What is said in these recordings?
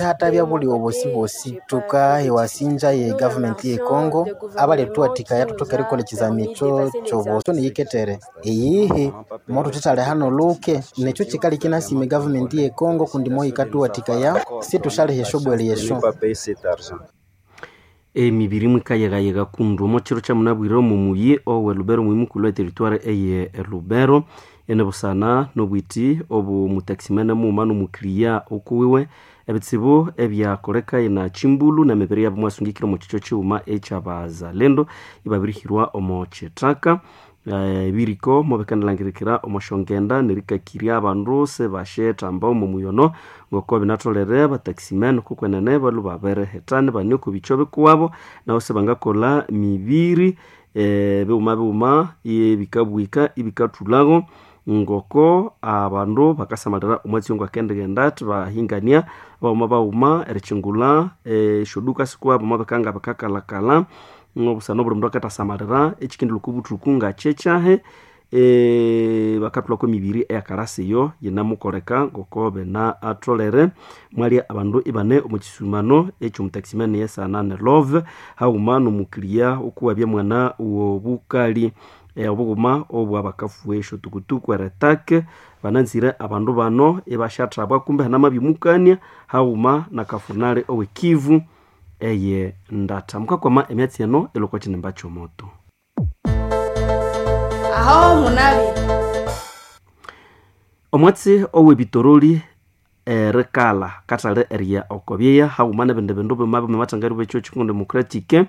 Sihatabya buliwe bwosi-bwosi. Tukaha ewasinja ye gavumenti ye Congo abalituwathikaya thuthoke erikolha ekizami ekyo kyobuso neyiketere. Iyihi mothuthithalihana noluke, nekyo kikaleka inasima egavumenti ye Congo kundi moyikathuwathikaya situsyaliha esyobwele esyo. Emibiri mwikayegayega kundu omo kiro kyamunabwire omo muyi owe Lubero muyi mukulhu e territoire eye Lubero, ene busana nobwiti obu mutaximene mughuma nomukiriya okuwiwe. Ebitsibu ebyakoleka ina Chimbulu nemibiri yabo mwasungikire omo kikyo kighuma ekyabazalendo ibabirihirwa omo kithaka. Ebiriko mobikanalangirikira omo syongenda nerikakirya abandu sibasyethamba omo muyono ngoko binatholere abataximen okukwenene balhwe babirihithana ibane oko bikyo bikuwabo nabo sibangakolha mibiri bighuma bighuma ebikabwika ibikathulhago ngoko abandu bakasamalira omwatsi ngwakendighenda athi bahingania baghuma baghuma erikyingulha esyoduka sikuwabo mwabikanga bikakalhakalha obusana obuli mundu akathasamalira ekikendilhwa oko buthuku ngakyekyahi. Bakathulhako emibiri eyakalasa eyo yinamukoleka ngoko binatholere. Mwalya abandu ibane omo kisumano ekyomutaximene yesana ne Love haghuma nomukiriya okuwabya mwana wobukali. Obughuma obwabakafuha esyotukutuku eritake bananzire abandu bano ibashathabwa kumbe hanamabyamukania haghuma nakafunali owekivu eye ndatha. Mukakwama emyatsi eno ilwe okwa kinimba kyomoto. Aho munabi. Omwatsi owebitoroli erikalha kathali eriya oko byeya haghuma nebindi bindu bima bimathangari bwekyo Congo Democratic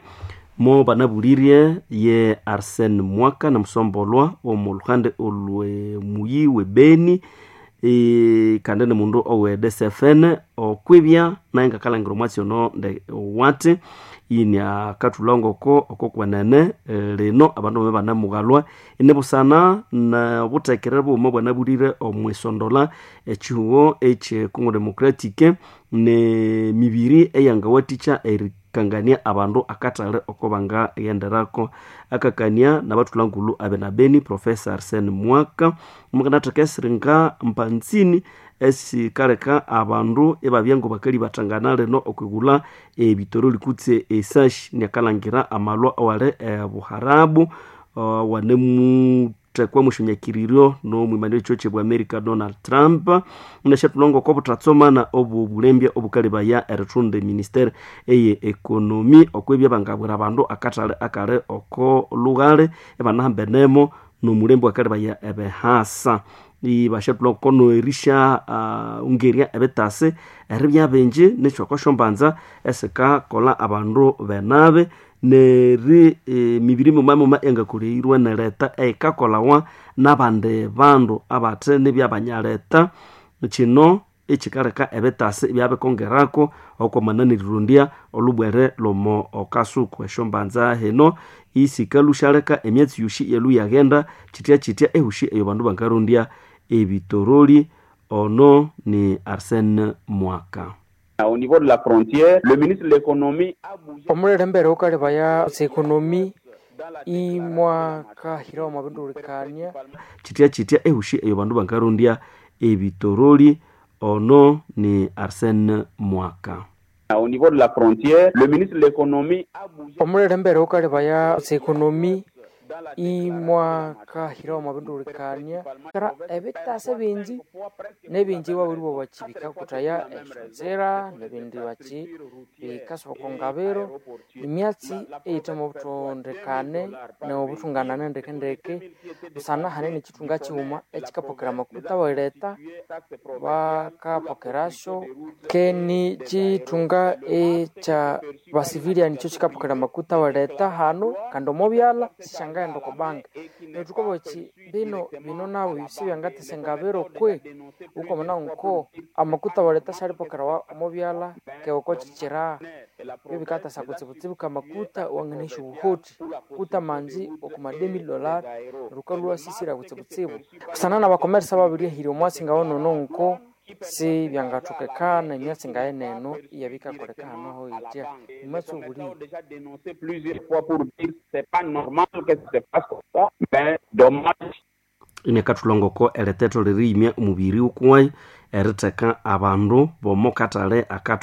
mo banabulirye ye Arsene Mwaka namusombolwa omo luhande olwe muyi we Beni, kandi ni mundu owe DCFN okwibya naye ngakalangira omwatsi ono wathi iniakathulha ngoko okokwenene lino abandu bame banemughalwa inibusana nobuthekere bughuma bwanabulire omwisondola ekihugho ekye Congo Democratic nemibiri eyangawathikya erikangania abandu akathali oko bangaghenderako. Akakania nabathulha abe na Beni Professor Arsene Mwaka mukanatheka esiringa mpanzini esikaleka abandu ibabya ngobakalibathangana lino okwigulha ebitoroli kutse esashi niakalhangira amalwa awali ebuharabu wanemuthekwa mwishonyakiriryo nomwimani wekihugho kyebwa America Donald Trump. Inasyathulha ngoko obuthatsomana obwobulembya obukalebaya erithunda eministere eye economy okwibya bangabwira abandu akathali akali oko lughali ibanahambenemo nomulembe wakalebaya ebihasa. Ibasyathulha ngoko nerisya ungerya ebitasi eribya bingi nikyoko syombanza esikakolha abandu benabi neri emibiri mighuma mighuma engakoleirwe nereta eyikakolawa nabandi bandu abathe nibyabanyaleta. Kino ekikaleka ebitasi ibyabikongerako okwamana nerirondya olhubwere lwomo kasuku. Esyombanza hino isikalhusyaleka emyatsi yosi iyalhu yaghenda kyithya kyithya ehusi eyo bandu bangarondya ebitoroli. Ono ni Arsene Mwaka. Au niveau de la frontière, le ministre de l'économie a bougé. Omulelembere wukalebaya ekonomi imwakahirawo mwabindulukania kyithya kyithya ehusi eyo bandu bangarondya ebitoroli. Ono ni Arsene Mwaka. Au niveau de la frontière, le ministre de l'économie a bougé. Omulelembere wukalebaya ekonomi imwakahirawo mwabindulukania kara ebitasi bingi nebingi wabiribo bakibikakuthaya esyonzira nebindi bakibikasa oko ngabiro. Emyatsi eyithemu obuthondekane nobuthunganane ndekendeke busana hane nekithunga kighuma ekikapokera amakuta awaletha bakapokerasyo keni kithunga ekya basivilian kyo kikapokera amakuta awaletha hanu kandi omo byalha sisyangaghenda oko banka. Neryo thukabugha bino bino nabyo sibyangathesa engabiro kwe wukamana nko amakuta awaletha syalipokerawa omo byalha ke oko kikira ebyo bikathesa kutsibutsibu kamakuta wanganahya obuhoti kuta amanzi okwa $2000 neryo wukalhwa iwasisira kutsibutsibu. Busana nabakomeresa ababirihirya omwatsi ngawonono nko sibyangathokekana emyatsi ngayeneno iyabikakoleka hanu hoyithya omwatsi obuliwe. Inakathulha ngoko eritetho leriyimya omubiri wukuwayi eritheka abandu bomo kathali akathu.